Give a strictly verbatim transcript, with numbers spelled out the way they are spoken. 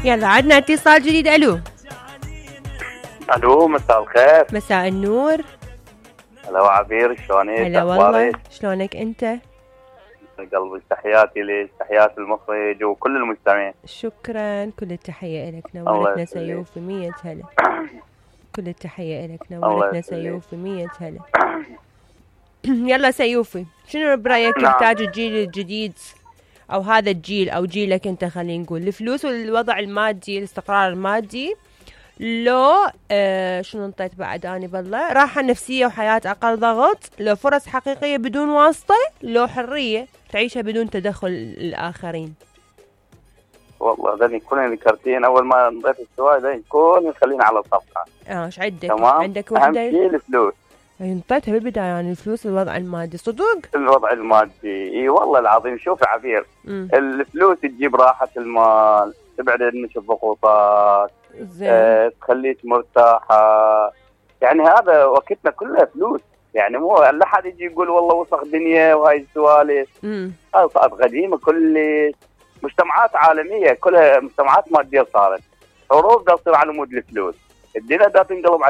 يلا عدنا اتصال جديد. الو الو مساء الخير. مساء النور. هلا وعبير، شلونك؟ هلا والله، شلونك انت؟ قلبي تحياتي لك، تحيات المخرج وكل المستمعين. شكرا، كل التحية لك. نورتنا سيوفي، مية هلا. كل التحية لك، نورتنا سيوفي، مية هلا. يلا سيوفي، شنو برأيك يحتاج الجيل الجديد او هذا الجيل او جيلك انت، خلينا نقول الفلوس والوضع المادي، الاستقرار المادي، لو آه شنو انطيت بعد اني بالله، راحة نفسية وحياة اقل ضغط، لو فرص حقيقية بدون واسطة، لو حرية تعيشها بدون تدخل الاخرين؟ والله ذني كلهم ذكرتين اول ما انطيت السؤال ذني كلهم خلينا على الصفحة. اه ايش عندك؟ تمام. عندك وحدة اهم شيء الفلوس. انطيتها بالبداية، يعني الفلوس الوضع المادي صدق؟ الوضع المادي اي والله العظيم. شوف عبير، مم. الفلوس تجيب راحة المال، تبعد عنك الضغوطات، آه، تخليك مرتاحة. يعني هذا وقتنا كلها فلوس، يعني مو لا حد يجي يقول والله وسخ دنيا وهاي السوالف. هذا صارت قديمة كلش، مجتمعات عالمية كلها مجتمعات مادية صارت، حروب دا تصير على مود الفلوس، الدنيا دا تنقلب على